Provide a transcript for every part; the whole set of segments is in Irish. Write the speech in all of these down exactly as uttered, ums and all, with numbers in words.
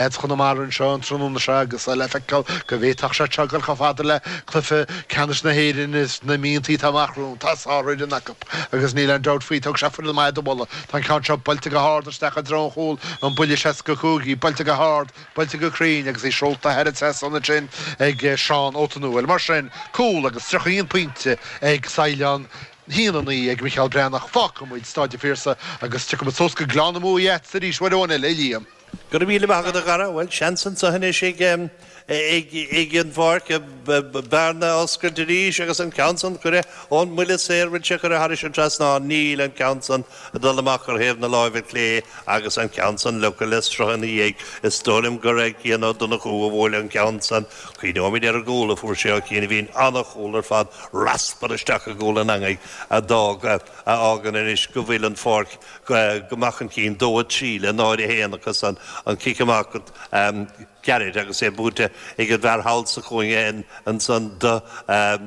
Lads Chonamara anseo an tráthnóna seo agus le feiceáil go bhféadfadh sé seo dul chomh fada le cluiche ceannais na hÉireann sna míontaí atá amach romhainn. Tá sárfhoireann acu agus níl aon dabht faoi. Thug sé foireann maith do mholadh. Tá an ceann seo buailte go hard isteach i dtreo an chúil, an buille seasca cúig í, buailte go hard, buailte go cruinn agus í seolta thar an trasnán ansin ag Seán Ó Tonúil. Mar sin, cúl agus tríocha aon pointe ag Saighleán. haon a naoi ag Micheál Breathnach. Fágfaidh muid Staid an Phiarsaigh agus tiocfaidh muid suas go Gleann na Muaidhe arís uair amháin eile, a Liam. Go raibh míle maith agat a Dhara. Bhuel, seans anseo anois ag ag an bPáirc bearna a oscailt arís agus an ceann san curtha ón mbuille saor bhfuil sé curtha thairis an trasnán. Níl an ceann san ag dul amach ar thaobh na láimhe clé agus an ceann san leagtha le sruth ina dhiaidh. Is dóigh liom gur ag Cian Ó Donnchú a bhuail an ceann san. Cuimhneoimid ar an gcúl a fuair sé ó Chian a bhí an-chúl ar fad, raspar isteach i gcúl an eangaigh a d'fhág, a fhágann anois go bhfuil an Pháirc go maith chun cinn, dó a trí le náid a haon acu san, an cic amach gairid agus é buaite ag an bhfear thall sa chúinne ansan do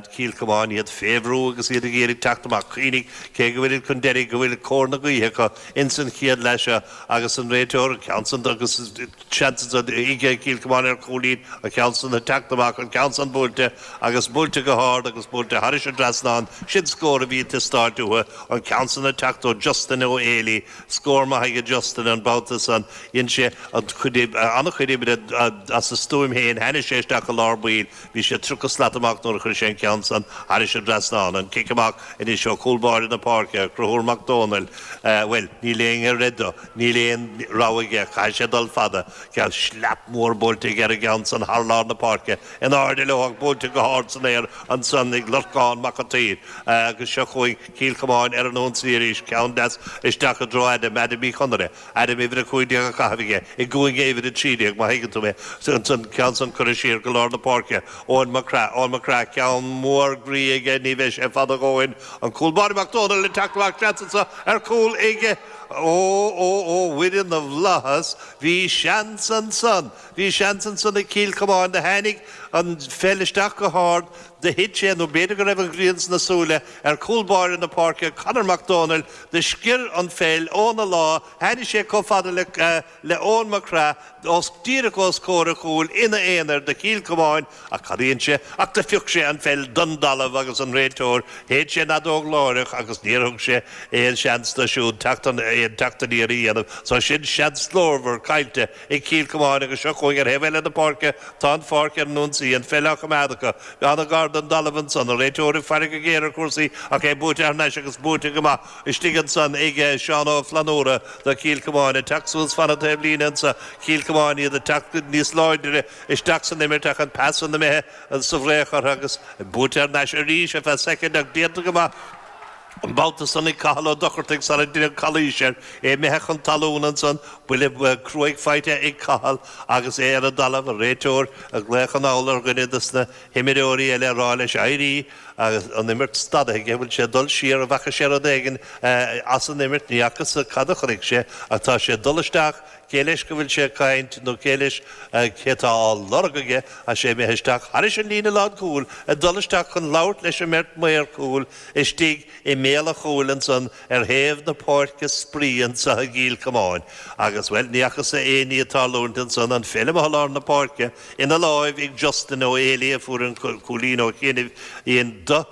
Chill Chomáin, iad fé bhrú agus iad ag iarraidh teacht amach. Cuimhnigh, cé go bhfuil chun deiridh, go bhfuil cóir na gaoithe acu ins an chéad leath seo agus an réiteoir, an ceann san agus seans ansan ag Cill Chomáin ar chúilín, an ceann san ag teacht amach, an ceann san buailte agus buailte go hard agus buailte thairis an dtrasnán. Sin scór a bhí ag teastáilt uathu, an ceann san ag teacht ó Justin Ó Héalaí. Scór maith aige Justin an babhta san. Dhein sé an-chuid oibre as a stuaim féin. Tháinig sé isteach i lár baill. Bhí sé tríocha slat amach nuair a chuir sé an ceann san thairis an dtrasnán. An cic amach anois ó chúl báire na páirce, Conchúr Mac Dónaill. Bhuel, níl aon ar dó. Níl aon rogha aige. Caithfidh sé dul fada. Ceann shlap mór buailte aige ar an gceann san thar lár na páirce. In airde leo ach buailte go hard san aer ansan ag Lorcán Mac an tSaoir. Agus seo chugainn Cill Chomáin ar an ionsaí arís. Ceann deas isteach i dtreo Adam, Adam Uí Chonaire. Adam uimhir a cúig déag á caitheamh aige i gcúinne uimhir a trí déag, má thuigeann tú mé. Ansan ceann san curtha siar go lár na páirce. Eoin Mac Craith, Eoin Mac Craith, ceann mór groí aige, ní bheidh sé fada a dhóthain. An cúl báire Mac Dónaill ag teacht amach, seans anso ar chúl aige. Ó, ó, ó, Mhuire na bhFlaitheas, bhí seans ansan, bhí seans ansan ag Cill Chomáin, do tháinig an pheil isteach go hard, do thit sé, nó b'fhéidir go raibh an ghrian sna súile, ar chúl báire na páirce, Conor Mac Dónaill, do sciorr an pheil óna lámh, tháinig sé chomh fada le, le Eoin Mac Craith, os, díreach os comhair a chúil, ina aonar, do Chill Chomáin, ach cad a dhein sé, ach do phioc sé an pheil don dtalamh agus an réiteoir, shéid sé an fheadóg láithreach agus níor thug sé aon seans dó siúd teacht an, aon teacht aniar a dhéanamh. So sin seans glórmhar caillte ag Cill Chomáin agus seo chugainn ar thaobh eile na páirce, tá an Pháirc ar an ionsaí, an pheil á choimeád acu, an-ghar don dtalamh ansan, an réiteoir ag faire go géar ar chúrsaí ach é buaite thar n-ais agus buaite go maith istigh ansan ag Seán Ó Flannúra do Chill Chomáin ag teacht suas fan an taobhlíne anso, Cill Chomáin iad ag teacht níos láidre isteach san imirt ach an pas san imithe sa bhfraoch orthu agus buaite thar n-ais arís ar feadh soicind ach déanta go maith an babhta san ag Cathal Ó Dochartaigh sara deineadh calaois air, é imithe chun talún ansan, buille cruaidh faighte ag Cathal agus é ar an dtalamh, an réiteoir ag glaoch anall ar dhuine de na himreoirí eile ag rá leis éirí agus an imirt stadaithe aige, bhfuil sé ag dul siar, an bhfaca sé rud éigin as an imirt, ní fhacthas cad a chonaic sé ach tá sé ag dul isteach, cé leis go bhfuil sé ag caint nó cé leis, cé atá á lorg aige, tá sé imithe isteach thairis an líne lánchúil, ag dul isteach chun labhairt leis an mbeirt maor cúil istigh i mbéal an chúil ansan ar thaobh na páirce spraoi anso i gCill Chomáin. Agus, bhuel, ní fhacthas aon ní ag tarlúint ansan, an pheil amuigh i lár na páirce ina láimh ag Justin Ó Héalaí a fuair an cúilín ó chianaibh in do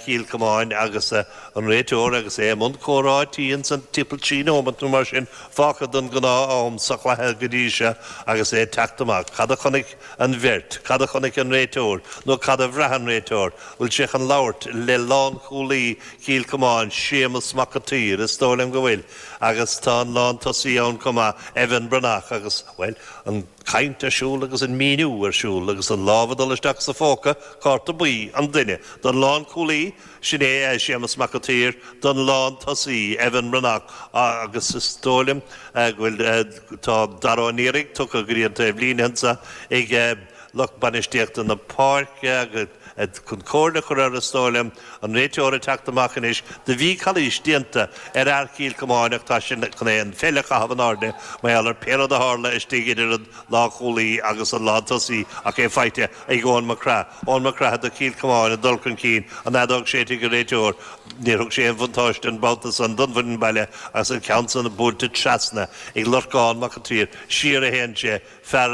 Chill Chomáin agus an réiteoir agus é i mbun comhráití ansan timpeall trí nóimeat nó mar sin fágtha den ghnáth-am sa chluiche go dtí seo agus é ag teacht amach. Cad a chonaic an bheirt? Cad a chonaic an réiteoir? Nó cad a bhraith an réiteoir? Bhfuil sé chun labhairt le lánchúlaí Chill Chomáin, Séamus Mac an tSaoir? Is dóigh liom go bhfuil. Agus tá an lántosaí ann chomh maith, Evan Breathnach, agus, bhuel, an chaint ar siúl agus an míniú ar siúl agus an lámh ag dul isteach sa phóca, cárta buí an duine. Don lánchúlaí, sin é Séamus Mac an tSaoir, don lántosaí, Evan Breathnach, agus is dóigh liom go bhfuil, tá Dara Ó Niaraigh tugtha go dtí an taobhlíne anseo ag lucht bainistíochta na páirce agus chun comhairle chur ar is dóigh liom an réiteoir ag teacht amach anois do bhí calaois déanta ar fhear Chill Chomáin ach tá sin chun é an pheil a chaitheamh in airde mar gheall ar pé rud a tharla istigh idir an lánchúlaí agus an lántosaí ach é faighte ag Eoin McCrath. Eoin McCrath do Chill Chomáin ag dul chun cinn an fheadóg séidte ag an réiteoir níor thug sé an bhuntáiste an babhta san don bhfoireann baile agus an ceann san buailte trasna ag Lorcán Mac an tSaoir siar a théann sé fear